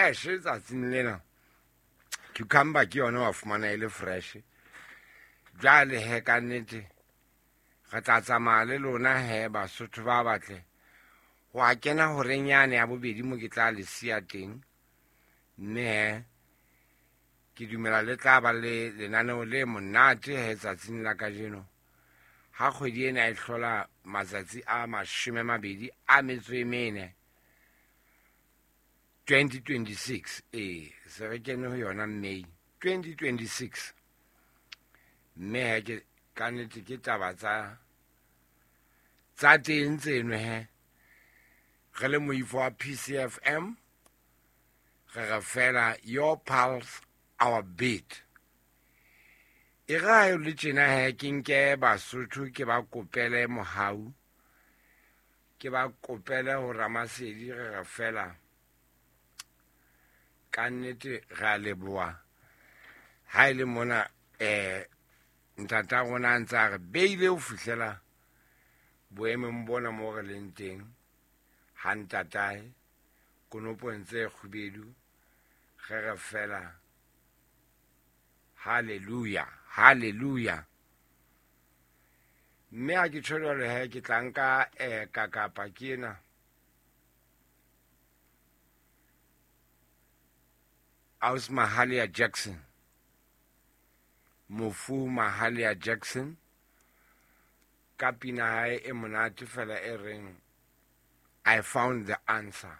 Fresh tsatsing lena. Cucumber ke yona wa fumana e le fresh. Jwale he ka nnete re tla tsamaya le lona he Basotho ba batle ho a kena horeng yane ya bobedi mo ke tla le siya teng. Mme he ke dumela le tla ba le lenaneo le monate he tsatsing la kajeno. Ha kgwedi ena e hlola matsatsi a 24, 2026. Ee, se re kene ho yona May 2026. Mme he ke ka nnete ke taba tsa teng tseno he. Re le moifo wa PCFM re re fela your pulse our beat. E re ha e le tjena he ke nke Basotho ke ba kopele mohau, ke ba kopele ho Ramasedi, re re fela ka nnete re a leboha ha e le mona ntata rona a ntse a re beile ho fihlela boemong bona mo re leng teng. Ha ntatae konopong tse kgubedu re re fela hallelujah, hallelujah. Mme ha ke tjho jwalo he ke tla nka kakapa ke ena. Aus Mahalia Jackson, mofu Mahalia Jackson, ka pina hae e monate fela e reng I found the answer.